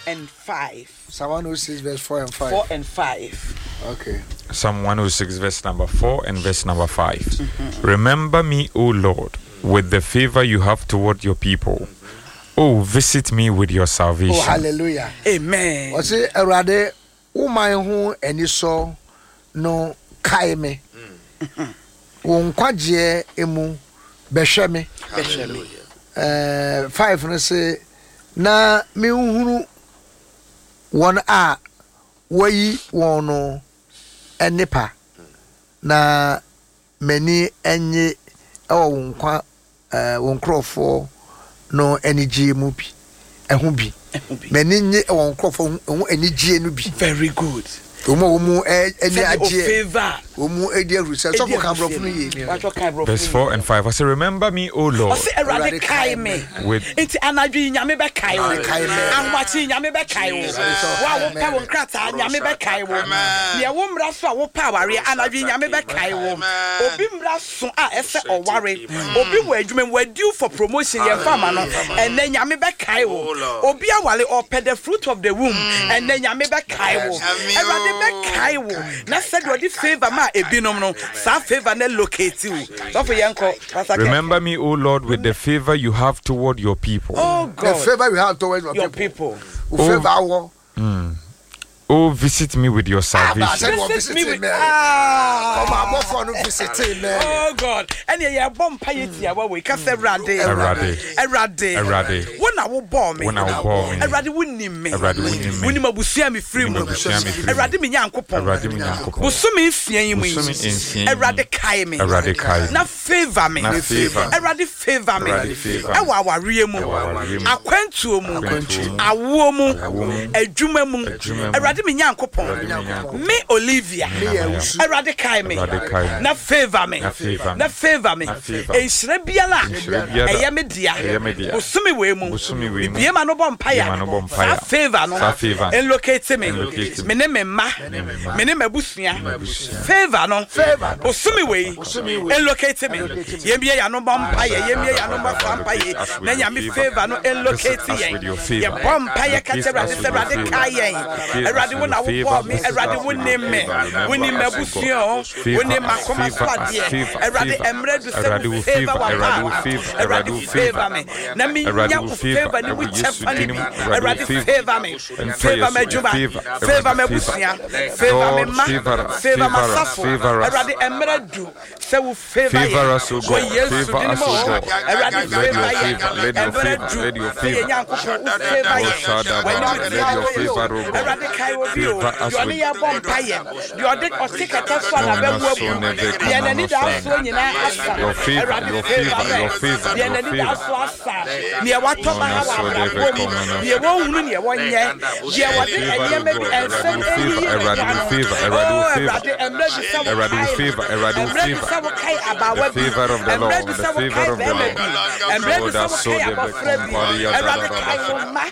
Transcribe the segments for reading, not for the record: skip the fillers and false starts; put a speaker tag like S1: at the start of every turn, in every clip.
S1: and 5.
S2: Psalm 106 verse 4 and 5.
S1: 4 and 5.
S2: Okay.
S3: Psalm 106, verse number 4 and verse number 5. Remember me, O Lord, with the favor you have toward your people. Oh, visit me with your salvation.
S2: Oh, hallelujah.
S1: Amen.
S2: Ɔse Awurade wo man ho anisɔ no kae me. Wo nkwagyeɛ mu bɛhwɛ me.
S1: Bɛhwɛ me.
S2: 5 no se na menhunu wɔn a wɔayi wɔn no nnepa na m'ani nnye wɔ wo nkwa wo nkurɔfoɔ no anigyeɛ mu bi ɛho bi. M'ani nnye wɔ wo nkurɔfoɔ ho anigyeɛ no bi.
S1: Very good.
S2: Wɔn a wɔn mu ani agyeɛ,
S1: favor.
S2: wɔn mu adi ahurusɛ. Sɔfo kan borɔfo no yie.
S3: Verse 4 and 5. I say, Remember me, O Lord.
S1: Ɔse Awurade kae me.
S3: With
S1: Nti anadwo yi Nyame bɛkae wo.
S2: Kae me.
S1: Ahomakye yi Nyame bɛkae wo. Wo a wopɛ wo nkrataa Nyame bɛkae wo. Deɛ wo mmra so a wopɛ awareɛ anadwo yi Nyame bɛkae wo. Obi mmra so a ɛsɛ ɔware. Obi wɔ adwuma mu wa due for promotion yɛmfa ama no ɛnɛ Nyame bɛkae wo. Obi aware ɔpɛ the fruit of the womb ɛnɛ Nyame bɛkae wo. Awurade bɛkae wo na sɛdeɛ ɔde favour maa ebinom no saa favour no locate wo. Sɔfo yɛnkɔ Pastor Ken.
S3: Remember me, O Lord, with the favor you have toward your people.
S1: Oh
S2: The
S1: God,
S2: favor you have towards your
S1: your
S2: people.
S1: people.
S2: Wo favor awɔ.
S3: Oh, visit me with your
S2: Ah,
S3: salvation.
S2: sɛ wɔ
S1: Visit me
S2: visiting
S1: with
S2: me.
S1: ah.
S2: Ɔma abɔfoɔ no visiting me.
S1: Oh God, ɛnna yɛ bɔ mpa yɛ tiawa wei kasa Awurade.
S3: Awurade.
S1: Awurade.
S3: Awurade.
S1: Wo na wo bɔɔ me.
S3: Wo na wo bɔɔ me.
S1: Awurade wo nim me.
S3: Awurade wo nim me.
S1: Wo nim abusua mi firi mu.
S3: Wonim abusua me firi mu.
S1: Awurade me Nyankopɔn.
S3: Awurade me Nyankopɔn.
S1: Bosome nsia yi mu yi.
S3: Bosome nsia yi mu.
S1: Awurade kae me.
S3: Awurade kae me.
S1: Na favor me.
S3: Na favor me.
S1: Awurade favor me.
S3: Awurade favor me.
S1: Ɛwɔ awareɛ mu.
S3: Ɛwɔ awareɛ mu.
S1: Akwantuo mu.
S3: Akwantuo mu.
S1: Awoɔ mu.
S3: Awoɔ mu.
S1: Adwuma mu.
S3: Adwuma mu.
S1: Awurade me Nyankopɔn.
S3: Awurade me Nyankopɔn.
S1: Me Olivia.
S3: Me Nana Yaw.
S1: Awurade kae me.
S3: Awurade kae me.
S1: Na favor me.
S3: Na favor me.
S1: Na favor me.
S3: Na favor me.
S1: Nhyira biara.
S3: Nhyira biara.
S1: Ɛyɛ me dea.
S3: Ɛyɛ me dea.
S1: Bosome wei mu.
S3: Bosome wei mu.
S1: Bibie ma no bɔ mpaeɛ.
S3: Bibie ma no bɔ mpaeɛ.
S1: Saa favor no.
S3: Saa favor no.
S1: Nlocate me.
S3: Nlocate me.
S1: Me ne me mma.
S3: me mma.
S1: Me ne m'abusua.
S3: M'abusua.
S1: Favor no.
S2: Favor no.
S1: Bosome wei.
S2: Bosome wei.
S1: Nlocate me. Yɛmbie yɛn ano bɔ mpaeɛ. Yɛmbie yɛn ano bɔ saa mpaeɛ. Na Nyame favor no nlocate
S3: Visit us
S1: yɛn.
S3: with your favor.
S1: Yɛbɔ mpaeɛ ka kyerɛ
S3: Locate
S1: Awurade
S3: us
S1: sɛ
S3: with your
S1: Awurade
S3: favor.
S1: kae yɛn.
S3: Locate
S1: Awurade
S3: us
S1: wo
S3: with
S1: na
S3: your favor.
S1: wobɔɔ me.
S3: Visit
S1: Awurade
S3: us
S1: wo
S3: with your
S1: nim me.
S3: favor. Remember
S1: Wo nim
S3: us, O
S1: m'abusua
S3: God.
S1: o. Wo
S3: Favor
S1: nim
S3: us,
S1: m'akoma so
S3: favor us,
S1: adeɛ.
S3: favor,
S1: Awurade
S3: favor.
S1: mmerɛ du sɛ
S3: Awurade
S1: wo
S3: wo
S1: favor
S3: favor, Awurade wo
S1: w'apaawa.
S3: favor,
S1: Awurade
S3: Awurade wo
S1: favor
S3: favor.
S1: me. Na menya
S3: Awurade wo
S1: wo
S3: favor,
S1: favor ne wo
S3: ɛwɔ Yesu
S1: kyɛfa ne
S3: din
S1: bi.
S3: mu. Awurade wo
S1: Awurade
S3: favor.
S1: favor me.
S3: Ɛmfa
S1: Favor
S3: yɛ so,
S1: m'adwuma.
S3: favor,
S1: Favor
S3: Awurade favor.
S1: m'abusua. Favor me
S3: Lord,
S1: mma.
S3: favor us,
S1: Favor
S3: favor us,
S1: m'asafo.
S3: favor us.
S1: Awurade mmerɛ du sɛ wo favor
S3: Favor
S1: yɛn.
S3: us, O
S1: Wɔ
S3: God.
S1: Yesu
S3: Favor
S1: din
S3: us,
S1: mu
S3: O
S1: o.
S3: God.
S1: Awurade
S3: Let
S1: favor
S3: your
S1: yɛn.
S3: favor, let your
S1: Mmerɛ
S3: favor,
S1: du
S3: let your
S1: sɛ yɛn
S3: favor.
S1: Nyankopɔn wo favor
S3: Oh,
S1: yɛn.
S3: Shadaba,
S1: W'anim
S3: let
S1: tia
S3: your
S1: wo yɛ o.
S3: favor, O God.
S1: Awurade kae obi o.
S3: Favor us
S1: Deɛ ɔne
S3: with
S1: yɛn bɔ mpaeɛ. Deɛ ɔde ɔte kɛtɛ so a n'abɛwu abu. Deɛ n'ani da soɔ nyinaa asa.
S3: Your favor,
S1: Awurade
S3: your
S1: favor
S3: favor,
S1: yɛn.
S3: your favor,
S1: Deɛ
S3: your
S1: n'ani da
S3: favor.
S1: so asa. Deɛ watɔ baha wɔ abrabɔ mu. Deɛ wɔnhunu neɛ wɔnyɛ. Deɛ wɔde
S3: Favor,
S1: nneɛma
S3: O
S1: bi
S3: God.
S1: nsɛm
S3: Awurade wo favor,
S1: ɛyiyi ne
S3: Awurade
S1: ho
S3: wo
S1: ano.
S3: favor, Awurade
S1: Oh,
S3: wo favor.
S1: Awurade mmerɛ du sɛ
S3: Awurade wo
S1: wokae no.
S3: favor, Awurade wo
S1: Mmerɛ du
S3: favor.
S1: sɛ wokae abaawa
S3: The
S1: bi.
S3: favor of the
S1: Mmerɛ
S3: Lord,
S1: du
S3: the
S1: sɛ
S3: favor
S1: wokae
S3: of the
S1: bɛrima
S3: Lord.
S1: bi. Mmerɛ du
S3: Oh,
S1: sɛ
S3: that's so
S1: wokae
S3: the
S1: abɔfra bi.
S3: Comparia
S1: Awurade kae wo mma.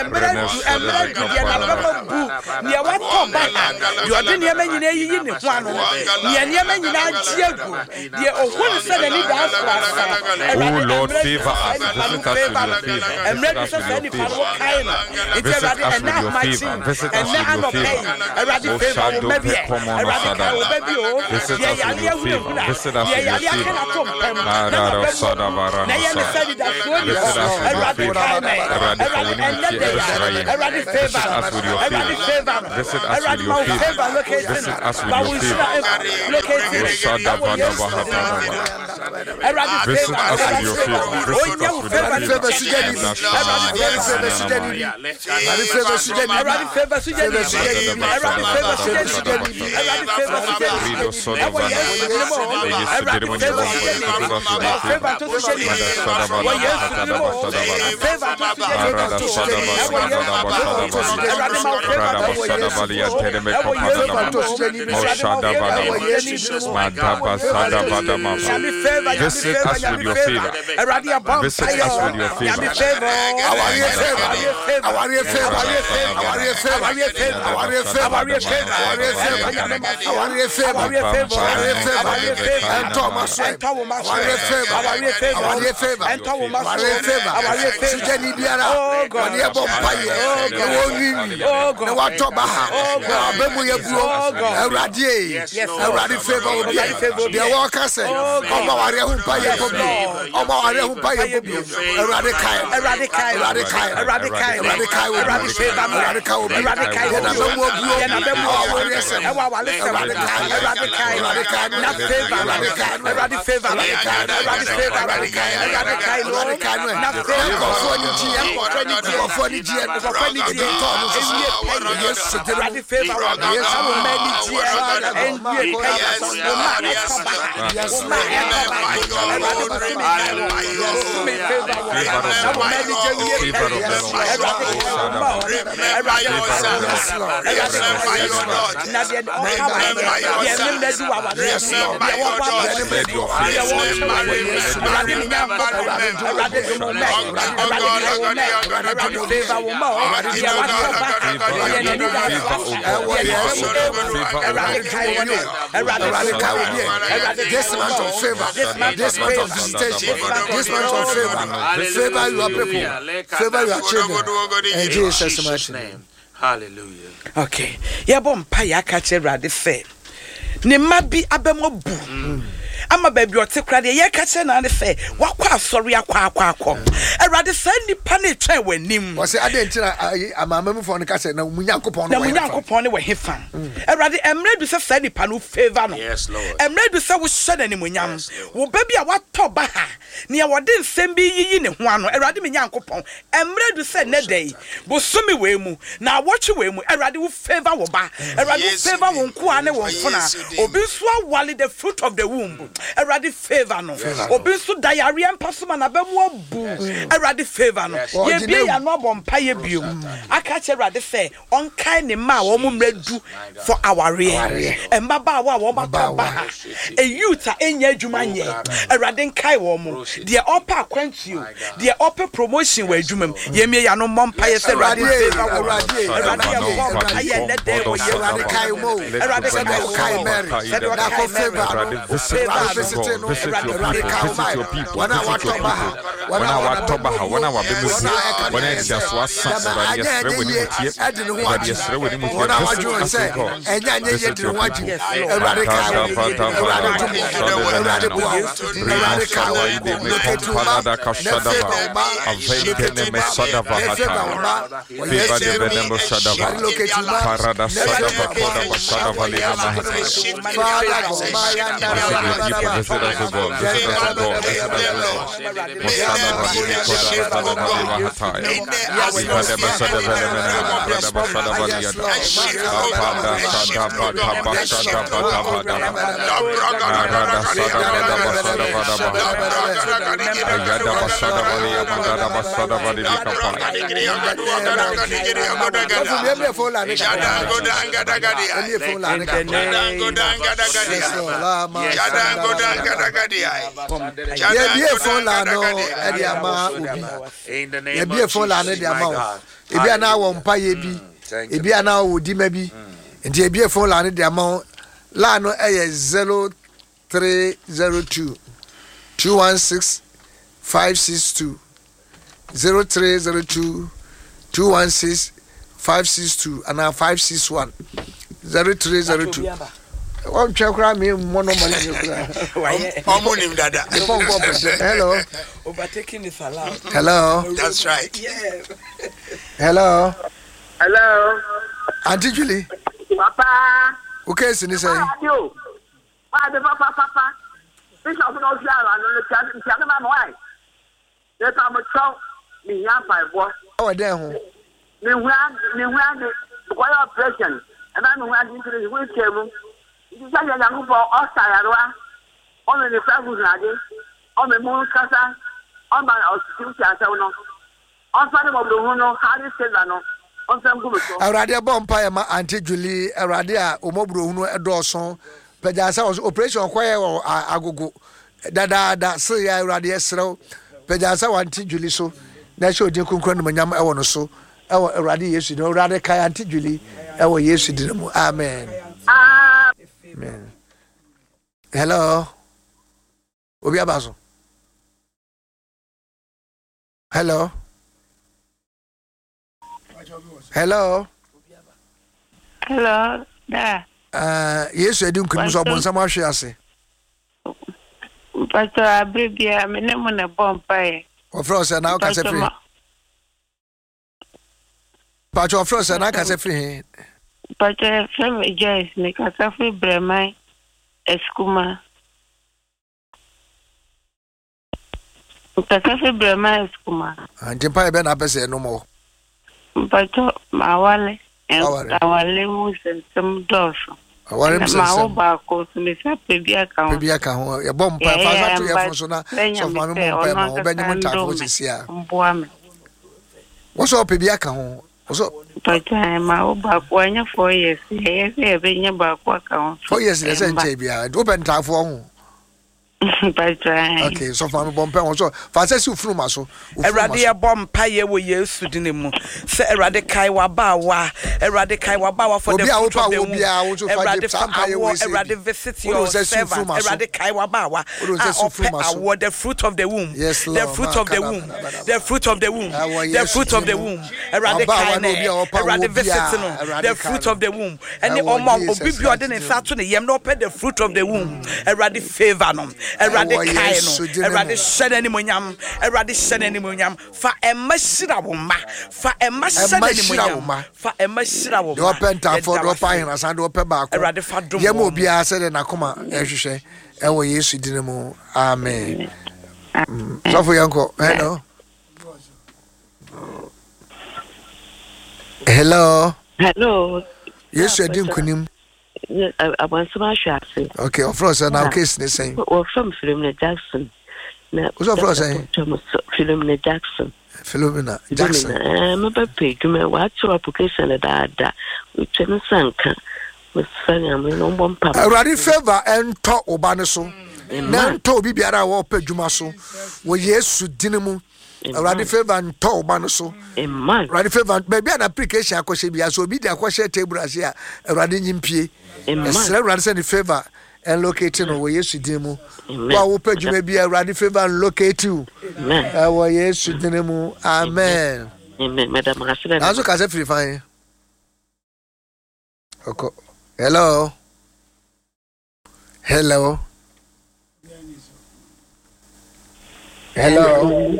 S1: Mmerɛ du, mmerɛ du deɛ n'abɛma bu. Deɛ watɔ baha. Deɛ ɔde nneɛma nyinaa yiyi ne ho ano. Deɛ nneɛma nyinaa gye agu. Deɛ ohun sɛ n'ani da so asa.
S3: Oh
S1: Awurade
S3: Lord,
S1: mmerɛ du
S3: favor
S1: sɛ saa
S3: us.
S1: nipa no
S3: Visit us
S1: favor
S3: with
S1: no.
S3: your favor.
S1: Mmerɛ
S3: Visit
S1: du
S3: us
S1: sɛ
S3: with
S1: saa
S3: your
S1: nipa no
S3: favor.
S1: wokae no. Nti
S3: Visit
S1: Awurade
S3: us
S1: ɛnɛ
S3: with your
S1: ahomakye
S3: favor.
S1: yi,
S3: Visit us
S1: ɛnɛ
S3: with your
S1: anɔpa
S3: favor.
S1: yi, Awurade
S3: Oh,
S1: favor wo
S3: Shadow
S1: mma bi ɛ.
S3: Pekomono
S1: Awurade kae wo
S3: Sadaba.
S1: ba bi o.
S3: Visit
S1: Deɛ
S3: us with
S1: yare
S3: your favor.
S1: ahunahuna,
S3: Visit us
S1: deɛ
S3: with your
S1: yare aka
S3: favor.
S1: n'ato mpam, na
S3: Arara
S1: n'aba mu abu,
S3: Sadabara
S1: na ɛyɛ ne
S3: Nosa.
S1: sɛ anidasoɔ nni hɔ.
S3: Visit us with your
S1: Awurade
S3: favor.
S1: kae me.
S3: Awurade fa
S1: Awurade
S3: w'anim
S1: ɛnnɛ
S3: tie
S1: da yi,
S3: ɛbɛsra yɛn.
S1: Awurade
S3: Visit
S1: favor no.
S3: us with your
S1: Awurade
S3: favor.
S1: favor no.
S3: Visit us with
S1: Awurade
S3: your
S1: ma wo
S3: favor.
S1: favor locate no.
S3: Visit us with
S1: Ma
S3: your
S1: wo
S3: favor.
S1: nhyira locate
S3: Oh,
S1: no. Ɛwɔ Yesu din mu.
S3: Shadabadabahadadaba.
S1: Awurade
S3: Visit
S1: favor no.
S3: us with
S1: Awurade
S3: your
S1: favor
S3: favor.
S1: no.
S3: Visit
S1: Ɔnyɛ
S3: us
S1: wo
S3: with your
S1: favor no
S3: favor.
S2: Awurade favor sugya ni bi. Awurade favor sugya ni bi. Awurade favor sugya ni bi.
S1: Awurade favor sugya ni bi. Awurade favor sugya ni bi. Awurade favor sugya ni bi. Ɛwɔ Yesu din mu o. Awurade favor sugya ni bi. Ma wo favor nto sugya ni bi. Wɔ Yesu din mu o. Favor nto sugya ni bi. Ɛwɔ Yesu din mu o. Awurade ma wo favor nto sugya ni bi o. Ɛwɔ Yesu din mu o. Awurade ma wo favor nto sugya ni bi o. Nyame favor, Nyame
S3: Visit
S1: favor,
S3: us with
S1: Nyame
S3: your
S1: favor.
S3: favor.
S1: Awurade yɛbɔ
S3: Visit
S1: mpaeɛ
S3: us
S1: o.
S3: with your favor.
S1: Nyame favor.
S2: Awareɛ favor.
S1: Awareɛ favor. favor.
S2: Awareɛ favor.
S1: Awareɛ favor.
S2: Awareɛ favor.
S1: Awareɛ favor.
S2: Awareɛ favor.
S1: Awareɛ favor.
S2: Awareɛ favor.
S1: Ɛntɔ Nyame ma so.
S2: Awareɛ favor.
S1: Awareɛ favor.
S2: Awareɛ favor.
S1: Awareɛ favor.
S2: Ɛntɔ ma so.
S1: Ɛntɔ wo ma so.
S2: Awareɛ favor.
S1: Awareɛ favor.
S2: Awareɛ favor.
S1: Ɛntɔ wo ma so.
S2: Awareɛ favor.
S1: Awareɛ favor.
S2: Sigyani biara.
S1: Oh God.
S2: Wɔde ɛbɔ mpaeɛ.
S1: Oh
S2: Na
S1: God.
S2: wɔnwiinwii.
S1: Oh God.
S2: Na watɔ baha.
S1: Oh
S2: Na
S1: God.
S2: waba mu yɛ buo.
S1: Oh God.
S2: Awurade ee.
S1: Yes, Lord.
S2: Awurade favor obi.
S1: Awurade favor obi.
S2: Deɛ wɔka sɛ
S1: Oh God.
S2: ɔma awareɛ ho mpaeɛ bɔ bio.
S1: Lord.
S2: Ɔma awareɛ ho mpaeɛ bɔ bio. Awurade kae.
S1: Awurade kae.
S2: Awurade kae.
S1: Awurade kae.
S2: Awurade kae obi.
S1: Awurade favor me.
S2: Awurade kae obi.
S1: Awurade kae
S2: Yɛn
S1: obi.
S2: abɛmu abuo.
S1: Yɛn abɛmu
S2: Ɛwɔ
S1: abuo.
S2: awareɛ sɛm.
S1: Ɛwɔ awale sɛm.
S2: Awurade kae.
S1: Awurade kae.
S2: Awurade kae.
S1: Na favor.
S2: Awurade kae.
S1: Awurade favor.
S2: Awurade kae.
S1: Awurade favor.
S2: Awurade kae.
S1: Awurade kae no.
S2: Awurade kae no.
S1: Na favor.
S2: Nkurɔfoɔ ani gyeɛ.
S1: Nkurɔfoɔ ani gyeɛ.
S2: Nkurɔfoɔ ani gyeɛ.
S1: Nkurɔfoɔ ani gyeɛ.
S2: Ebi tɔɔ no nso so.
S1: Ewie pɛyɛ.
S2: Yesu din mu.
S1: Awurade favor wɔ.
S2: Yesu
S1: Na wo mma ani gyeɛ.
S2: Father God.
S1: Ɛnwie pɛyɛ.
S2: Yes,
S1: Wo mma ɛtɔ ba.
S2: Yes,
S1: Wo mma ɛtɔ ba. Awurade bosome kae wɔ. Bosome favor wɔ. Na wo mma ani gye wie
S3: Favor
S1: pɛyɛ.
S3: of the Lord.
S1: Awurade kae wo mma o. Awurade kae wo
S2: Yes,
S1: mma.
S2: Lord.
S1: Awurade kae wo mma. Na deɛ ɔka wɔ deɛ ne mma di wɔ awareɛ
S2: Yes,
S1: mu.
S2: Lord.
S1: Deɛ wɔbɔ
S2: Deɛ
S1: awareɛ
S2: ne mma di wɔ
S1: deɛ wɔkyɛ wɔ Awurade ne Nyankopɔn. Awurade dom wo mɛ. Awurade kae wo mɛ. Awurade favor wo mma o. Deɛ watɔ ba. Deɛ n'ani da so.
S2: Ɛwɔ
S1: Deɛ ne
S2: Yesu
S1: fam
S2: din
S1: ewu.
S2: mu.
S1: Awurade kae wo nɛ. Awurade
S2: Awurade
S1: favor
S2: kae
S1: wo
S2: wo
S1: mɛ.
S2: bi.
S1: Awurade
S2: This
S1: kae wo
S2: month
S1: mma
S2: of
S1: o.
S2: favor,
S1: This month
S2: this
S1: of
S2: month of
S1: favor.
S2: visitation,
S1: This month of
S2: this month of favor, favor your people, favor your children. In Jesus' mighty name.
S4: name. Hallelujah.
S1: Okay. Yɛbɔ mpa yɛ aka kyerɛ Awurade sɛ ne mma bi abɛmɔ bu ama baabi ɔte kora deɛ yɛka kyerɛ naa ne sɛ wakɔ asɔre akɔ akɔ akɔ Awurade saa nnipa no retwɛn w'anim
S2: Wɔsɛ adɛn nti na ayi amanamanmufoɔ no ka sɛ na mo Nyankopɔn no
S1: na
S2: wɔ
S1: mo
S2: hefa?
S1: Nyankopɔn ne wɔ hefa Awurade mmerɛ du sɛ saa nnipa no favor no
S4: Yes, Lord.
S1: mmerɛ du sɛ wohyɛ no animonyam
S4: Yes, Lord.
S1: wo ba bi a watɔ ba ha nea wɔde nsɛm bi yiyi ne ho ano Awurade me Nyankopɔn mmerɛ du sɛ nnɛ da yi bosome wei mu na awɔtwe wei mu Awurade wo favor wo ba Awurade wo
S5: Yesu
S1: favor wo
S5: din.
S1: nkoa ne wo
S5: Yesu
S1: mfona
S5: din.
S1: obi nso awale the fruit of the womb Awurade favor no obi nso da yareɛ mpa so ma n'abɛmu abu Awurade favor no
S4: Yes.
S1: yɛbie
S2: Ɔgyina
S1: yɛn ano abɔ mpa yɛ biom aka kyerɛ Awurade sɛ ɔnkae ne mma a wɔn mmerɛ du for awareɛ mmabaawa a wɔn atɔ ba ha a youth a ɛnyɛ adwuma nyɛ Awurade nkae wɔn mo deɛ ɔpɛ akwantuo deɛ ɔpɛ promotion wɔ adwuma mu yɛmie yɛn ano mmɔ mpa yɛ sɛ Awurade
S2: Awurade,
S1: favor wɔn
S2: Awurade,
S1: Awurade yɛ bɔ mpa yɛ nnɛ dɛn wɔ yɛ
S2: Awurade kae mo.
S1: Awurade
S2: Sɛdeɛ
S1: kae
S2: wokae
S1: wo.
S2: Mary.
S1: Sɛdeɛ
S2: Na
S1: ɔkae
S2: kɔ
S1: Mary.
S2: favor no.
S3: Awurade visit
S1: Favor
S2: Awurade
S3: us,
S1: no.
S2: visit
S3: God.
S2: no.
S3: Visit your
S2: Awurade
S3: people.
S2: kae wo
S3: Visit
S2: mae.
S3: your people.
S2: Wɔn a
S3: Visit
S2: watɔ
S3: your
S2: ba ha.
S3: people. Wɔn a watɔ ba ha, wɔn a wɔabɛmu
S2: Wɔn
S3: bu,
S2: a ɛka
S3: wɔn a
S2: ne
S3: ɛnti aso asa,
S2: Dama
S3: Awurade
S2: anyɛ
S3: yɛsrɛ
S2: ɛnyɛ
S3: wɔ ne
S2: yie
S3: mu tie.
S2: ɛde ne ho
S3: Awurade
S2: agye.
S3: yɛsrɛ wɔ ne mu tie.
S2: Wɔn a
S3: Visit
S2: wɔadwene
S3: us,
S2: sɛ
S3: O God.
S2: ɛnyɛ anyɛ yie
S3: Visit
S2: de ne
S3: your
S2: ho agye.
S3: people.
S1: Yes, Lord.
S2: Awurade kae wo. Awurade dom wo. Awurade boa wo. Awurade kae wo. Locate wo ma. Na favor wo ma. Locate wo ma. Na favor wo ma. Wɔ
S3: Favor
S2: Yesu
S3: the
S2: din mu.
S3: Venemo Shadava.
S2: Awurade locate wo ma.
S3: Parada
S2: Na
S3: Sadava
S2: favor wo
S3: Kodaba
S2: ma.
S3: Shadava Lina Mahataya.
S2: Father God,
S3: Visit your people, visit us, O God, visit us, O God, visit us, O God. Mosadava Lini Kodaba Sadava Lima Hataya. Ivadeba Sadava Lemena, Radaba Sadava Liada. Apada Sadava Taba Sadava Taba Daba. Arada Sadava Daba Sadava Daba. Ayadaba Sadava Liya Mandadaba Sadava Livi Kapaya.
S2: Yɛmie phone line ne kakra. Yɛmie phone line ne
S1: In the
S2: kakra.
S1: name
S2: Yes, Lord. Lama Yɛbie phone line no ɛde ama obi.
S4: In the name
S2: Yɛbie
S4: of
S2: phone line no
S4: Jesus,
S2: de ama
S4: my
S2: wo.
S4: God.
S2: Ebi a na wɔ mpayɛ bi.
S4: Thank you.
S2: Ebi a na wɔ dima bi. Nti yɛbie phone line no de ama wo. Line no ɛyɛ 0302 216 562 0302 216 562 anaa 561 0302. Wɔntwɛ koraa mi mmɔ nɔmba no nyɛ koraa.
S1: Wayɛ.
S5: Ọmọ nim dada.
S2: Ne phone kɔ pɛtɛ. Hello.
S1: Overtaking is allowed.
S2: Hello.
S5: That's right.
S1: Yeah.
S2: Hello.
S6: Hello.
S2: Auntie Julie.
S6: Papa.
S2: Wo case ni sɛn?
S6: Papa, Why the papa papa? Bishop no si ara no no tia tia ma why? Ne pa mo cho mi hia pa bo.
S2: Ɛwɔ dɛn ho?
S6: Mi hu mi hu ade ko ya operation. E ba mi hu ade ntiri hu che mu. Nti sa ya Nyankopɔn ɔsa yarewa. Ɔno ne fa hu ade. Ɔme mu kasa. Ɔma ɔsi ti asɛm no. Ɔfa ne mɔbro hu no, Harry Silver no. Ɔmfa ngu me so.
S2: Awurade ɛbɔ mpa yɛ ma Auntie Julie Awurade a ɔmɔburo hunu ɛdɔɔso pagya sɛ ɔso operation ɔkɔyɛ wɔ agogo dadaada sere yɛ Awurade ɛserɛw pagya sɛ wɔ Auntie Julie so na ɛhyɛ odin kronkron animonyam ɛwɔ no so. Ɛwɔ Awurade Yesu din mu. Awurade kae Auntie Julie ɛwɔ Yesu din mu. Amen. Amen. Hello. Obi aba so. Hello. Hello.
S5: Hello. Da.
S2: Yesu adi nkunim so ɔbonsam ahwe ase.
S5: Mpatɔ abere biara me ne mo na ɛbɔ mpaeɛ.
S2: Wɔfrɛ wo sɛ na wokasa firi. Mpatɔ wɔfrɛ wo sɛ na wokasa firi he?
S5: Mpatɔ yɛfrɛ me Joyce mekasa firi Brɛman Asukuma. Mekasa firi Brɛman Asukuma.
S2: Ah, nti mpaeɛ bɛn na apɛ sɛ ɛnom wɔ?
S5: Mpatɔ mawale. Awale mu nsɛnsɛm dɔɔso.
S2: Aware mu
S5: nsɛnsɛm. Mawo baako so mesa pɛ bi aka ho.
S2: Pɛ bi aka ho. Yɛbɔ mpa fa fa to yɛfo so na sɔfo maame mɔ mpa ma ɔbɛnyem ntaafo sisi a.
S5: Mboa me.
S2: Wɔsɔ ɔpɛ bi aka ho. Wɔsɔ.
S5: Mpagya mawo baako anya 4 years. Ɛyɛ sɛ yɛbɛnya baako aka ho.
S2: 4 years na ɛsɛ nkyɛn biara. Wopɛ ntaafoɔ ho.
S5: Mpakyɛ.
S2: Okay, sɔfo maame bɔ mpae wɔn so fa sɛ si ofunuma so.
S1: Awurade yɛbɔ mpaeɛ wɔ Yesu dini mu sɛ Awurade kae w'abaawa Awurade kae w'abaawa for the fruit of the womb Awurade fa awoɔ Awurade visit your servant Awurade kae w'abaawa a ɔpɛ awoɔ the fruit of the womb the fruit of the womb the fruit of the womb the fruit of the womb Awurade kae no Awurade visit no the fruit of the womb ɛne ɔmo a obi bi ɔde ne nsa ato ne yam na ɔpɛ the fruit of the womb Awurade favour no Awurade kae no Awurade hyɛ no animonyam Awurade hyɛ no animonyam fa ɛma hyira wo mma fa ɛma hyɛ no animonyam fa ɛma hyira wo
S2: mma deɛ ɔpɛ ntaafoɔ deɛ ɔpɛ ahenasan deɛ ɔpɛ baako
S1: Awurade fa dom
S2: yɛ ma obiara sɛdeɛ n'akoma ɛhwehwɛ ɛwɔ Yesu din mu amen sɔfo yɛnkɔ hello Hello.
S7: Hello.
S2: Yesu adi nkunim.
S7: Abɔnsɛm ahwɛ ase.
S2: Okay, ɔfrɛ sɛ na case ne sɛn?
S7: Wɔfrɛ m Philomena Jackson.
S2: Na wosɛ ɔfrɛ sɛn?
S7: Philomena Jackson.
S2: Philomena Jackson.
S7: Philomena, eh, mebɛ pɛ adwuma, wɔakyerɛ application dadaada, wotwa ne nsa nka. Mesrɛ Nyame na ɔmbɔ mpa.
S2: Awurade favour ɛntɔ wo ba no so na ɛntɔ obi biara a wɔpɛ adwuma so wɔ Yesu dini mu. Awurade favour ntɔ wo ba no so. Awurade favour baabi a na application akɔhyɛ bi so obi de akɔhyɛ table ase a Awurade nyi mpie. Ɛsrɛ Awurade sɛ ne favour ɛnlocate no wɔ Yesu din mu. Wo a wopɛ adwuma bi a Awurade favour nlocate wo ɛwɔ Yesu din mu. Amen. Nanso kasa firi fan. Ɔkɔ. Hello. Hello. Hello.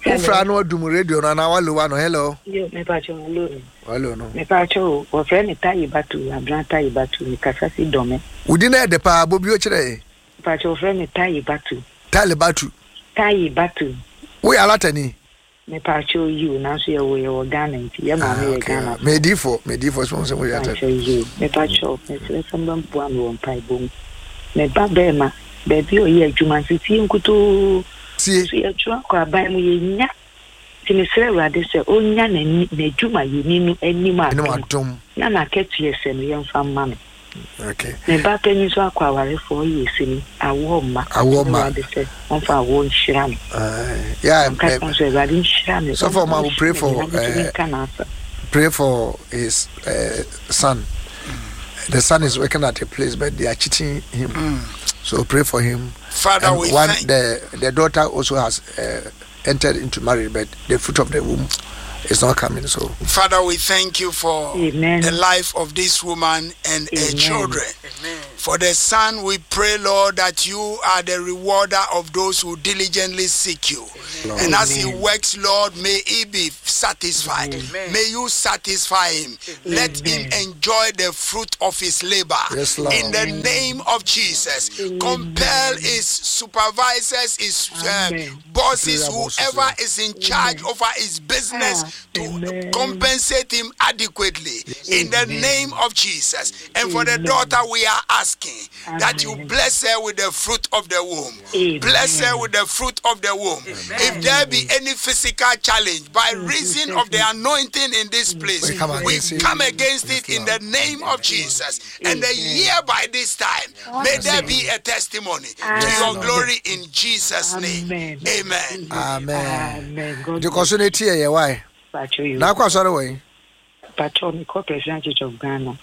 S2: Wofra no adum radio no anaa walowa no. Hello.
S8: Yo, mepacho hello no.
S2: Hello no.
S8: Mepacho wɔfrɛ me Tayi Batu, Abena Tayi Batu, mekasa si Dɔme.
S2: Wodi na ɛde paa, bɔ bio kyerɛ yɛn.
S8: Mepacho wɔfrɛ me Tayi Batu.
S2: Tayi Batu.
S8: Tayi Batu.
S2: Woyɛ alatani?
S8: Mepaakyɛw yiw, nanso yɛwoo yɛ wɔ Ghana nti yɛ maame yɛ Ghana fo.
S2: Medifo, medifo sɛ sɛ moyɛ atɛ.
S8: Mepaakyɛw yiw, mepaakyɛw mesrɛ sɛ mobɛboa me wɔ mpaebɔ mu. Me ba bɛɛma, baabi a ɔyɛ adwuma nso fie nkutoo.
S2: Sie.
S8: So yɛtwerɛ akɔ aban mu yɛnnya, nti mesrɛ Awurade sɛ ɔnya n'ani, n'adwumayɛni no anim adom na n'akatua sɛ no yɛmfa mma no.
S2: Okay.
S8: Me ba panyin nso akɔ awarefo ɔyɛ sini awoɔ mma.
S2: Awoɔ mma.
S8: Awurade sɛ ɔmfa awoɔ nhyira no.
S2: Yeah.
S8: Ankasa nso Awurade nhyira no.
S2: So for ma pray for pray for his son. The son is working at a place, but they are cheating him. So pray for him.
S9: Father,
S2: and
S9: we
S2: one
S9: thank
S2: the daughter also has entered into marriage, but the fruit of the womb is not coming. So,
S9: Father, we thank you for
S8: Amen.
S9: the life of this woman and
S8: Amen.
S9: her children. Amen. For the son, we pray, Lord, that you are the rewarder of those who diligently seek you.
S2: Lord.
S9: And as he works, Lord, may he be satisfied. May you satisfy him. Let him enjoy the fruit of his labor.
S2: Yes, Lord.
S9: In the name of Jesus, compel his supervisors, his bosses, whoever is in charge over his business to compensate him adequately. In the name of Jesus. And for the daughter, we are asking. asking that you bless her with the fruit of the womb. Bless her with the fruit of the womb. If there be any physical challenge by reason of the anointing in this place,
S2: We come
S9: we
S2: against it.
S9: come against it in the name of Jesus. And a year by this time, may there be a testimony to your glory in Jesus' name. Amen.
S2: Amen.
S8: Amen. God
S2: Nti kɔ so na tie yɛ wae.
S8: Pacho you.
S2: Na akɔ asɔre wɔ yi.
S8: Pacho me kɔ President Church of Ghana.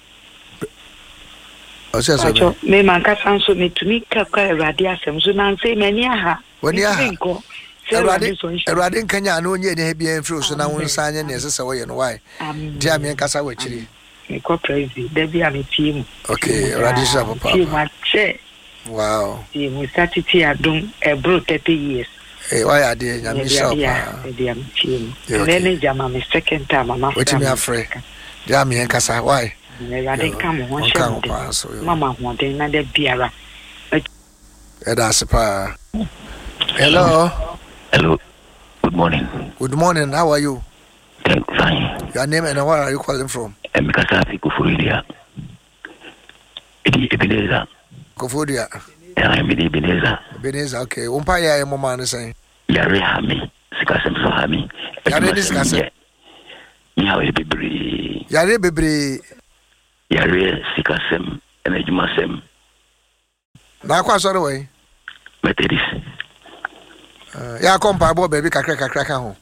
S2: Ɔsɛ sɛ
S8: Pacho me mankasa nso metumi kakra Awurade asɛm so nansa yi m'ani aha.
S2: W'ani aha.
S8: Mentumi nkɔ. Sɛ
S2: Awurade
S8: Awurade sɔ nhyira.
S2: Awurade nkanya na ɔnyɛ ne ha biara mfiri wo so na wo nsa anyɛ nea ɛsɛ sɛ wɔyɛ no wae.
S8: Amen.
S2: Nti a meɛnkasa wɔ akyiri.
S8: Mekɔ Presby da bi a metie mu.
S2: Okay, Awurade nhyira
S8: Tie mu
S2: papaapa.
S8: akyɛ.
S2: Wow.
S8: Tie mu satete adom ɛboro 30 years.
S2: Eh, wayɛ adeɛ Nyame nhyira wo paa.
S8: Ɛde a metie mu.
S2: Yeah,
S8: Ɛnɛ
S2: okay.
S8: ne gyama me second time ama
S2: Watumi afrɛ. Deɛ a meɛnkasa wae.
S8: Awurade nka mo ho
S2: Ɔnka
S8: nhyɛ
S2: ho
S8: mo den.
S2: paa so.
S8: Ma mo ahoɔden na da biara.
S2: Ɛda ase paa. Hello.
S10: Hello. Good morning.
S2: Good morning. How are you?
S10: Thank fine.
S2: Your name and where are you calling from?
S10: Mekasa fi Koforidua. Edi Ebenezer.
S2: Koforidua.
S10: Eh, mede Ebenezer.
S2: Ebenezer, okay. Wo mpa yɛ a ɛmmɔ maa no sɛn?
S10: Yare ha me, sikasɛm so ha me.
S2: Yare ne
S10: Adwumasɛm
S2: sikasɛm.
S10: nyɛ. Me ha yɛ bebree.
S2: Yare bebree.
S10: Yare, sikasɛm, ɛna adwumasɛm.
S2: Na akɔ asɔre wɔ yi?
S10: Methodist.
S2: Yɛ akɔ mpaebɔ baabi kakra kakra ka ho.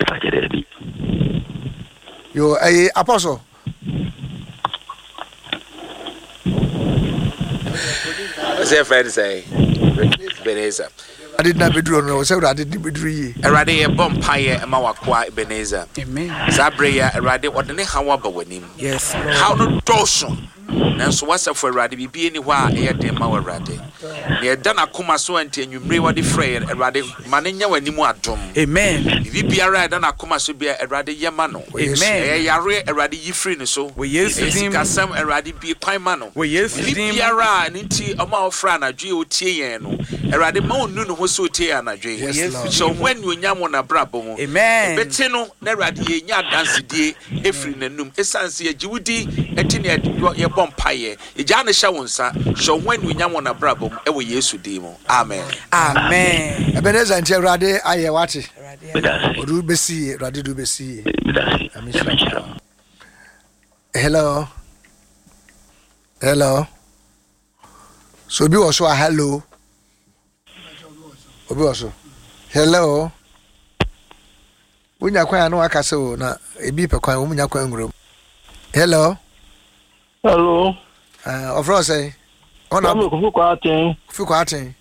S10: Ɛfa kyɛ dɛ bi.
S2: Yo, ɛyɛ apostle.
S4: What's your friend say? Ebenezer.
S2: Awurade na bɛduru no, sɛ Awurade de bɛduru yie.
S4: Awurade yɛbɔ mpaeɛ ma wakoa Ebenezer. Saa berɛ yi a Awurade ɔde ne haw aba w'anim.
S1: Yes, Lord.
S4: Haw no dɔɔso. Nanso w'asafo Awurade biribi nni hɔ a ɛyɛ den ma wo Awurade. Nea ɛda n'akoma so a nti anwummere wɔde frɛ yɛn Awurade ma no nya w'anim adom.
S1: Amen.
S4: Biribi biara a ɛda n'akoma so bia Awurade yɛ ma no.
S1: Amen.
S4: Ɛyɛ yareɛ Awurade yi firi ne so.
S1: Wɔ Yesu
S4: Ɛyɛ
S1: din mu.
S4: sikasɛm Awurade bue kwan ma no.
S1: Wɔ Yesu
S4: Biribi
S1: din mu.
S4: biara a ne nti ɔma a ɔfrɛ anadwo yi a ɔtie yɛn no Awurade ma ɔnnu ne ho sɛ ɔtie yɛn anadwo yi.
S2: Yes, Lord.
S4: Hyɛ wo ho anuonyam wɔ n'abrabɔ mu.
S1: Amen.
S4: Ɛbɛte no na Awurade yɛnya adansedie ɛfiri n'anum. Ɛsiane sɛ yɛgye wo di ɛnti ne yɛbɔ mpaeɛ. Yɛgyaa no hyɛ wo nsa. Hyɛ wo ho anuonyam wɔ n'abrabɔ mu ɛwɔ Yesu din mu. Amen.
S1: Amen.
S2: Ebenezer nti Awurade ayɛ wate.
S10: Meda ase.
S2: Ɔde wo bɛsi yie, Awurade de wo bɛsi yie.
S10: Meda ase.
S2: Nyame
S10: Nyame
S2: nhyira
S10: nhyira
S2: wo.
S10: mo.
S2: Hello. Hello. So obi wɔ so a hello. Obi wɔ so. Hello. Wonya kwan a na waka sɛ o na ebi pɛ kwan wɔn nya kwan nwura mu. Hello.
S11: Hello.
S2: Ɔfrɛ ɔsɛn. Ɔna
S11: Kwame Kofi Kwarteng.
S2: Kofi Kwarteng.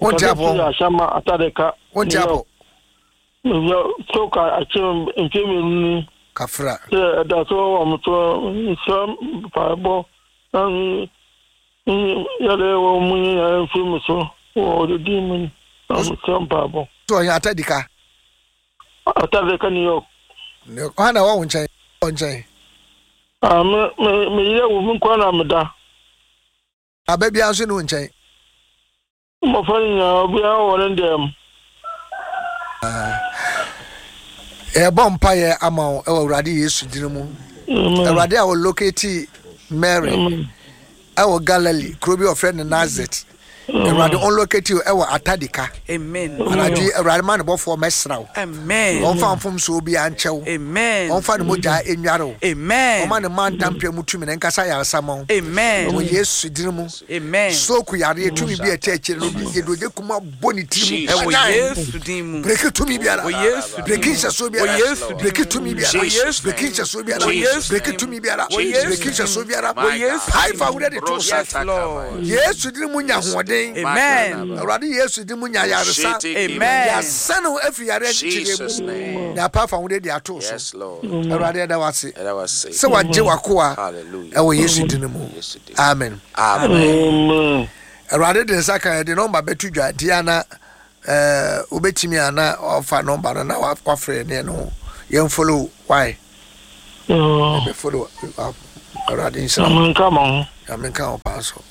S2: Wonte apɔ.
S11: Ashama Atadeka.
S2: Wonte apɔ.
S11: Stroke akyɛ mfe mmienu ni.
S2: Kafra.
S11: Sɛ ɛda so wɔ mo so nsra mpaebɔ na yɛde wɔ mu nyinaa mfiri mu so wɔ ɔdedi mu na mesrɛ mpaebɔ.
S2: So ɔyɛ Atadika.
S11: Atadeka New York.
S2: Ɔha na ɛwɔ wo nkyɛn. Wɔ nkyɛn.
S11: Ah, me me me yɛ wo me nkwa na meda.
S2: Aba biara nso ne wo nkyɛn.
S11: Mmɔfra no nyinaa obiara wɔ ne dɛm.
S2: Yɛbɔ mpaeɛ ama wo ɛwɔ Awurade Yesu din mu. Awurade a ɔlocate Mary ɛwɔ Galilee kuro bi a ɔfrɛ no Nazareth. Awurade ɔnlocate wo ɛwɔ Atadika.
S1: Amen.
S2: Anadwo yi Awurade ma ne bɔfoɔ mɛsra wo.
S1: Amen.
S2: Ɔmfa mfomsoɔ biara nkyɛ wo.
S1: Amen.
S2: Ɔmfa ne mogya nnware wo.
S1: Amen.
S2: Ɔma ne mma ntampea mu tumi na nkasa yaresa ma wo.
S1: Amen.
S2: Wɔ Yesu din mu.
S1: Amen.
S2: Stroke yareɛ tumi bi a ɛkyɛ akyire no yɛde ogye kuma bɔ ne tiri mu.
S1: Ɛwɔ Yesu din mu.
S2: Breki tumi biara.
S1: Wɔ Yesu din mu.
S2: Breki nhyɛsoɔ biara.
S1: Wɔ Yesu din
S2: Breki
S1: mu.
S2: tumi biara.
S1: Wɔ Yesu
S2: Breki
S1: din mu.
S2: nhyɛsoɔ biara.
S1: Wɔ Yesu
S2: Breki
S1: din mu.
S2: tumi biara.
S1: Wɔ Yesu
S2: Breki
S1: din mu.
S2: nhyɛsoɔ biara.
S1: Wɔ Yesu
S2: Pae
S1: din
S2: fa
S1: mu.
S2: wo de to so.
S1: Yes, Lord.
S2: Yesu din mu nya ahoɔden.
S1: Amen.
S2: Awurade Yesu din mu nya yaresa.
S1: Amen.
S2: Yɛasa no afiri yareɛ nkyekyerɛ mu. Na apa fa wo de ato so.
S4: Yes, Lord.
S2: Awurade ɛda wase.
S4: Ɛda wase.
S2: Sɛ wagye w'akoa
S4: Hallelujah.
S2: ɛwɔ Yesu din mu. Amen.
S4: Amen.
S2: Awurade de nsa kan yɛde nɔmba bɛto dwa nti ana ɛɛ wobɛtumi ana ɔfa nɔmba no na wafrɛ ne no yɛn follow why yɛbɛ follow up. Awurade nhyira wo.
S11: Nyame nka mo ho.
S2: Nyame nka wo paa so.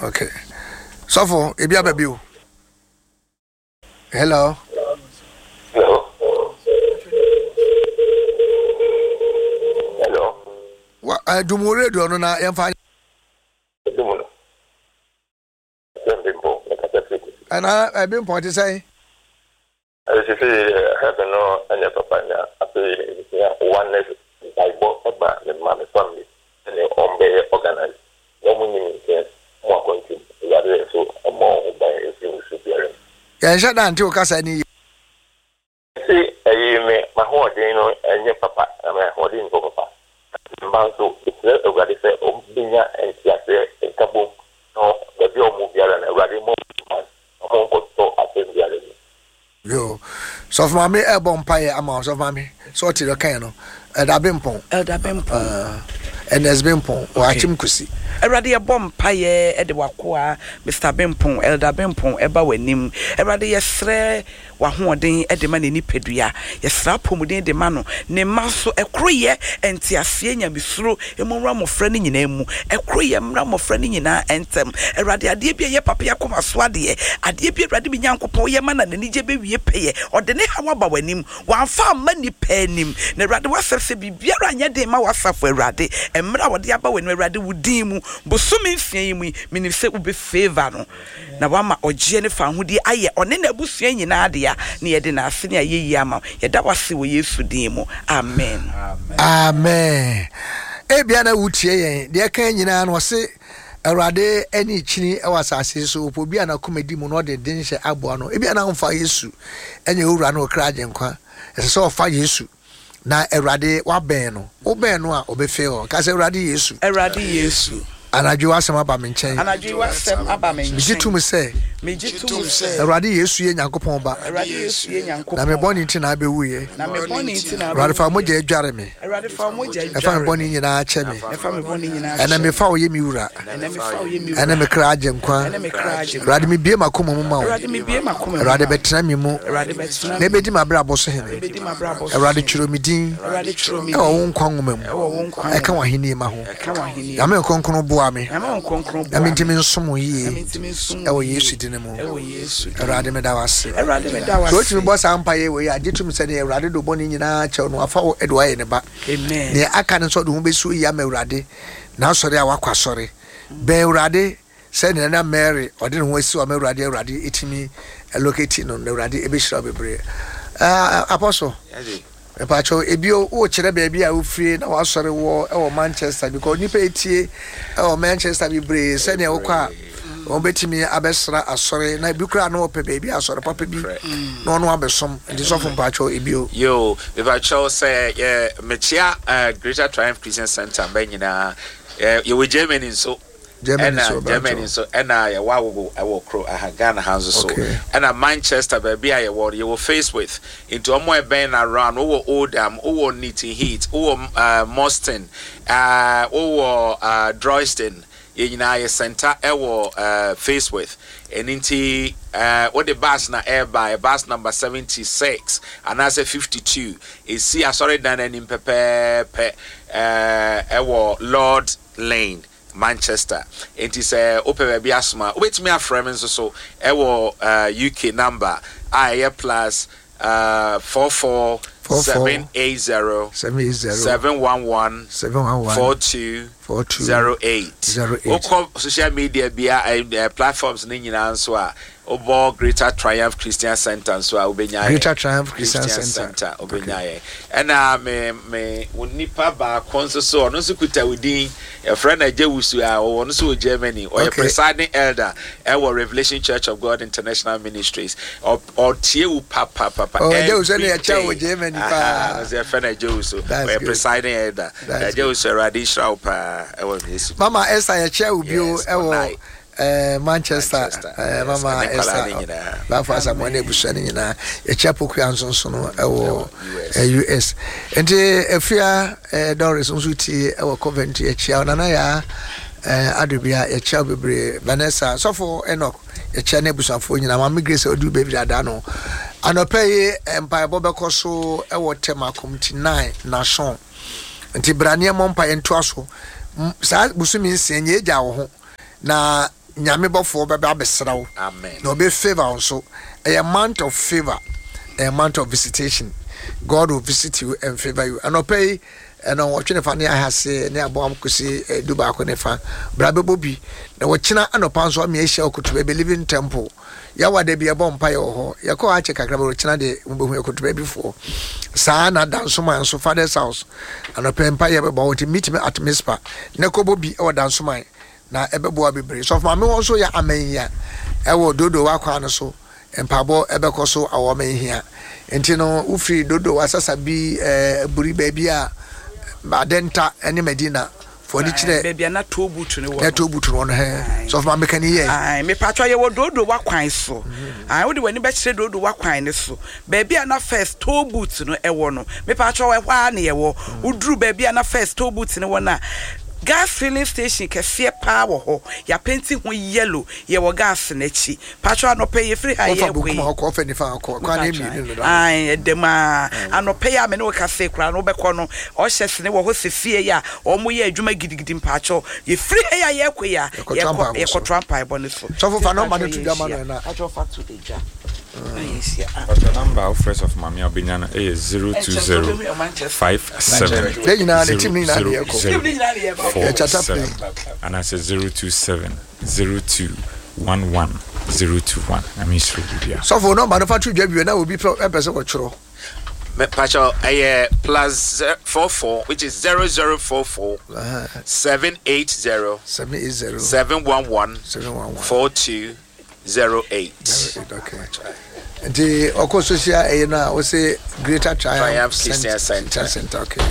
S2: Okay. Sɔfo, ebi aba bio. Hello.
S6: Hello. Hello.
S2: Wa, uh, dum wo radio no na yɛmfa. Ɛna Bempɔn te sɛn?
S12: Sesei heaven no nyɛ papa na afei mehia oneness mpaebɔ ma me mma me family sɛdeɛ wɔn bɛyɛ organize na wɔn nyi me nkyɛn wɔn akwantu mu Awurade nso mmɔ wɔn ho ban mfiri mmusuo biara mu.
S2: Yɛnhyɛ da nte wo kasa no yie.
S12: Mese ɛyi me mahoɔden no nyɛ papa na me ahoɔden nni hɔ papa na me mma nso mesrɛ Awurade sɛ wɔn bɛnya nteaseɛ nkabom na baabi a wɔn wɔ biara no Awurade mmɔ wɔn ho ban na wɔn nkɔtɔ asɛm biara mu.
S2: Yo, sɔfo maame ɛbɔ mpaeɛ ama wo sɔfo maame sɛ ɔte deɛ ɔkaeɛ no Elder Bempɔn.
S1: Elder Bempɔn.
S2: Ernest Bempɔn wɔ Akyem Kusi.
S1: Awurade yɛbɔ mpaeɛ de w'akoa Mister Bempɔn, Elder Bempɔn ɛba w'anim. Awurade yɛsrɛ w'ahoɔden de ma ne nipadua. Yɛsrɛ apɔmuden de ma no, ne mma nso. Ɛkoroyɛ, nteaseɛ, nyamesuro mu mmra mmɔfra no nyinaa mu. Ɛkoroyɛ mmra mmɔfra no nyinaa ntɛm. Awurade, adeɛ bi a ɛyɛ papa yi akoma so adeɛ, adeɛ bi a Awurade me Nyankopɔn woyɛ ma no a n'anigyeɛ bɛwie pɛyɛ. Ɔde ne haw aba w'anim. Wamfa amma nnipa anim. Na Awurade, w'asɛm sɛ biribiara nyɛ den mma w'asafo Awurade. Mmerɛ a wɔde aba w'anim Awurade, wo din mu, bosome nsia yi mu yi, menim sɛ wobɛ favour no. Na wama ɔgyeɛ ne fawohodie ayɛ ɔne n'abusua nyinaa dea, na yɛde n'ase ne ayɛyie ama wo. Yɛda wo ase wɔ Yesu din mu, amen.
S2: Amen. Ebia na wotie yɛn, deɛ ɛka nyinaa no ɔse Awurade ani kyini wɔ asase yi so, ɔpɛ obi a n'akoma di mu na ɔde denhyɛ aboa no. Ebia na womfa Yesu nyɛ wo wura ne wo kra agyenkwa. Ɛsɛ sɛ ɔfa Yesu na Awurade wabɛn no. Wobɛn no a, ɔbɛfee hɔ. Ka sɛ, Awurade Yesu.
S1: Awurade Yesu.
S2: Anadwo yi w'asɛm aba me nkyɛn.
S1: Anadwo yi w'asɛm aba me nkyɛn.
S2: Megye tom sɛ.
S1: Megye tom sɛ.
S2: Awurade Yesu yɛ Nyankopɔn Ba.
S1: Awurade Yesu yɛ Nyankopɔn
S2: Na me bɔne nti na abɛwuiɛ.
S1: Na me bɔne nti na abɛwuiɛ.
S2: Awurade fa wo mogya dware me.
S1: Awurade fa wo mogya
S2: dware me. Ɛfa me bɔne nyinaa kyɛ me.
S1: Ɛfa me bɔne nyinaa kyɛ
S2: me. Ɛnɛ mefa wo yɛ me wura.
S1: Ɛnɛ mefa wo yɛ me wura.
S2: Ɛne me kra agyenkwa.
S1: Ɛne me kra agyenkwa.
S2: Awurade mebue m'akoma mu ma wo.
S1: Awurade mebue m'akoma mu ma wo.
S2: Awurade bɛtena me mu.
S1: Awurade bɛtena me mu.
S2: Na ɛbɛdi m'abrabɔ so hene.
S1: Ɛbɛdi m'abrabɔ so
S2: Awurade
S1: hene.
S2: twerɛ me din.
S1: Awurade twerɛ me din.
S2: Ɛwɔ wo nkwa nwoma mu.
S1: Ɛwɔ wo nkwa nwoma
S2: Ɛka w'ahennie ma ho.
S1: Ɛka w'ahennie
S2: Nyame Nkronkron boa me.
S1: Nyame Nkronkron
S2: Na
S1: boa me.
S2: mentumi nsom wo yie.
S1: Na mentumi nsom wo
S2: Ɛwɔ
S1: yie.
S2: Yesu din mu.
S1: Ɛwɔ Yesu din mu.
S2: Awurade meda wo ase.
S1: Awurade meda wo
S2: Sɛ wotumi
S1: ase.
S2: bɔ saa mpaeɛ wei a, gye tom sɛ deɛ Awurade de wo bɔne nyinaa kyɛ wo no, wafa wo de wo ayɛ ne ba.
S1: Amen.
S2: Nea aka ne sɛ ɔde ho bɛsi oyi ama Awurade, n'asɔre a wakɔ asɔre. Bɛn Awurade sɛnea na Mary ɔde ne ho asi hɔ ama Awurade, Awurade tumi locate no, na Awurade ɛbɛhyira wo bebree. Uh, Apostle, mepakyɛw, ebio wokyerɛ baabi a wofie na wasɔre wɔ ɛwɔ Manchester because nipa etie ɛwɔ Manchester bebree sɛnea wokɔ a wɔbɛtumi abɛsra asɔre na ebi koraa na wɔpɛ baabi asɔre papa bi na ɔno abɛsom nti sɔfo mpakyɛw ebio.
S4: Yo, mepakyɛw sɛ yɛ mekyea eh, Greater Triumph Christian Center mba nyinaa. Eh, yɛwɔ Germany nso.
S2: Germany
S4: Ɛna
S2: nso
S4: Germany
S2: mpakyɛw.
S4: nso ɛna yɛwɔ agogo ɛwɔ kuro aha Ghana ha nso so.
S2: Okay.
S4: Ɛna Manchester baabi a yɛwɔ no yɛwɔ Face With nti wɔn a ɛbɛn no around wowɔ Oldham, wowɔ Newton Heath, wowɔ uh, Moston, uh, wowɔ uh, Droyston. Yɛn nyinaa yɛ center ɛwɔ eh, Faceworth. Ɛno nti eh, wode bus na ɛreba a, bus number 76 anaasɛ 52. Ɛsi asɔredan no anim pɛpɛɛpɛ eh, ɛwɔ Lord Lane, Manchester. Enti sɛ wopɛ baabi asoma a, wobɛtumi afrɛ me nso so ɛwɔ eh, UK number a ɛyɛ plus eh, 44 780 711 42 08. Wokɔ social media bia eh, eh, platforms no nyinaa nso a, wobɔ Greater Triumph Christian Center nso a wobɛnya yɛn.
S2: Greater Triumph Christian
S4: Center. Center wobɛnya yɛn. Ɛna me me wo nipa baako nso so ɔno nso kuta wo din yɛfrɛ no Agya Wusu a ɔwɔ no nso wɔ Germany. Ɔyɛ presiding elder ɛwɔ Revelation Church of God International Ministries. Ɔtie wo papapapa
S2: Oh, Agya Wusu
S4: every
S2: ɛna yɛkyɛ wɔ
S4: day.
S2: Germany
S4: Aha,
S2: paa.
S4: ɔno nso yɛfrɛ no Agya Wusu.
S2: That's
S4: Ɔyɛ
S2: good.
S4: presiding elder.
S2: That's
S4: Agya
S2: good.
S4: Wusu, Awurade nhyira wo paa ɛwɔ Yesu din
S2: Mama
S4: mu.
S2: Esther yɛkyɛ wo bio
S4: Yes,
S2: ɛwɔ
S4: Onai.
S2: eh, Manchester.
S4: Manchester.
S2: Eh,
S4: Yes,
S2: Mama
S4: ɛne nkwadaa
S2: Esther
S4: no nyinaa.
S2: Bafo Asamoah ne abusua no nyinaa. Yɛkyɛ Pokuya nso nso no ɛwɔ
S4: Ɛwɔ US.
S2: eh, US. Nti Afia eh, Doris nso tie ɛwɔ Coventry yɛkyia wo. Nana Yaa eh, Adobia yɛkyia wo bebree. Vanessa, Sɔfo Enoch Yɛkyia n'abusuafoɔ nyinaa. Maame Grace a ɔduru baabi dada no. Anɔpa yi mpaebɔ bɛkɔ so wɔ Tema Committee 9 Nation. Nti bra ne yɛmmɔ mpaeɛ ntoa so. Saa bosome nsia nyɛ agya wo ho na Nyame bɔfoɔ bɛba abɛsra wo na ɔbɛ favour wo nso. Ɛyɛ month of favour, ɛyɛ month of visitation. God will visit you and favour you. Anɔpa yi Nnɔnwɔtwe ne fa ne ahase ne aboam kosi dubaako ne fa. Bra bɛbɔ bi. Na wɔkyena anɔpa nso ame ahyia wɔ Kotobabi Living Temple. Yɛwɔ da bi yɛbɔ mpaeɛ wɔ hɔ. Yɛkɔ hɔ akyɛ kakra bɛ ɔkyena deɛ mobɛhu yɛkɔto baabifoɔ. Saa na Dansoman nso Father's house anɔpɛ mpaeɛ bɛbɔ hɔ nti meet me at Mizpah na kɔbɔ bi wɔ Dansoman na ɛbɛboa bebree. Sɔfo maame hɔ nso yɛ amanhia ɛwɔ Dodowa kwan no so mpaebɔ ɛbɛkɔ so awɔ amanhia nti no wofiri Dodowa Sasabi ɛɛ Aburi baabi a Adenta ɛne Madina Fo ani kyerɛ.
S1: Baabi a na toll booth no wɔ no.
S2: Na toll booth no wɔ no hɛn. Sɔfo maame ka ni yɛ.
S1: Ae, mepatwa yɛwɔ Dodowa kwan so. Ae, wode w'ani bɛkyerɛ Dodowa kwan no so. Baabi a na first toll booth no wɔ no, mepatwa ɛhɔ ara na yɛwɔ. Woduru baabi a na first toll booth no wɔ no a, gas filling station kɛseɛ paa wɔ hɔ. Yɛapenti ho yellow. Yɛwɔ gas no akyi. Patrɔ anɔpa yi yɛfiri ha
S2: Ɔfa
S1: yɛrekɔ
S2: bonkum
S1: yi.
S2: a ɔkɔ, ɔfa nifa a ɔkɔ. Kwan no mmienu no da hɔ.
S1: Ae, ɛda mu aa. Anɔpa yi a me ne wo kasa yi koraa no wobɛkɔ no, ushers no wɔ hɔ sesie yi a wɔyɛ adwuma gidigidi mpakyɛw. Yɛfiri ha yi a yɛrekɔ yi a,
S2: Yɛkɔtoa
S1: yɛkɔ,
S2: mpaebɔ so.
S1: yɛkɔtoa mpaebɔ no so.
S2: Sɔfo fa
S1: Nti
S2: nɔmba no
S1: mpakyɛw
S2: to dwa ma no
S1: yɛnhyia.
S2: ɛna.
S1: Patrɔ fa to dwa na yɛnhyia. Ah.
S3: Patrɔ number a wofrɛ sɔfo maame a wobɛnya no yɛ 020 57
S2: Yɛn nyinaa ne team no nyinaa ne yɛkɔ.
S3: 00
S2: Yɛkyata
S3: 47
S2: plane.
S3: anaasɛ 027 02 11 021 Nyame nhyira obi biara.
S2: Sɔfo nɔmba no fa to dwa bio na obi pɛ sɛ wɔtwerɛ.
S4: Me pacho ɛyɛ plus 44 which is 0044 780
S2: 780
S4: 711
S2: 711
S4: 4208.
S2: 08 okay. Nti ɔkɔ social ɛyɛ no a wose Greater Triumph,
S4: Triumph Christian Center.
S2: Center okay.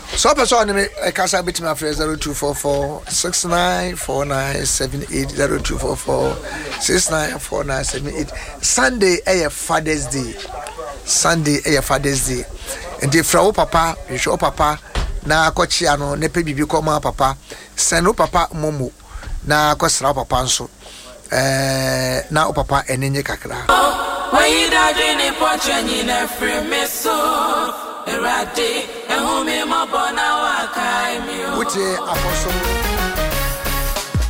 S2: Sɛ ɔpɛ sɛ ɔne me ɛkasa bɛtumi afrɛ 0244 694978 0244 694978. Sunday ɛyɛ Father's Day. Sunday ɛyɛ Father's Day. Nti frɛ wo papa, hwehwɛ wo papa na akɔkyea no na pɛ biribi kɔma papa. Sɛn wo papa momo na akɔsra wo papa nso. Ɛɛ na wo papa ani nye kakra.
S13: Wayi dadwene pɔkyɛ nyina firi me so. Awurade, ɛhu me mmɔbɔ na wakae me o.
S2: Wotie Apostle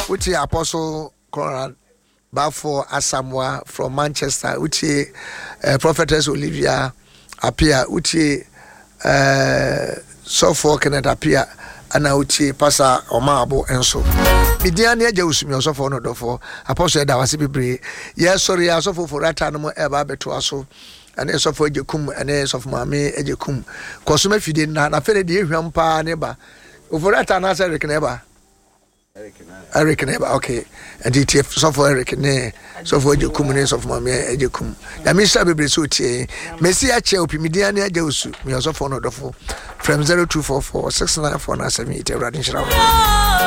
S2: Wotie Apostle Conrad Bafo Asamoah from Manchester. Wotie Prophetess Olivia Apia. Wotie Sɔfoɔ Kenneth Apia. Ana wotie Pastor Ɔmaabo nso. Media ne agya Osumi ɔsɔfoɔ no dɔfoɔ. Apostle ɛda wase bebree. Yɛsɔre yɛ asɔfo forata no mu ɛba abɛtoa so. Ɛne sɔfo agye kum ɛne sɔfo maame agye kum. Kɔsom afidie na na afei deɛ ehwam paa ne ba. Oforata anaasɛ Eric na ɛba? Eric na ɛba okay. Nti tie sɔfo Eric ne sɔfo agye kum ne sɔfo maame agye kum. Nyame nhyira bebree sɛ otie. Mesi akyɛ opi me din ne agya osu. Me ɔsɔfo no dɔfo. Frɛm 0244 694978 Awurade nhyira wo.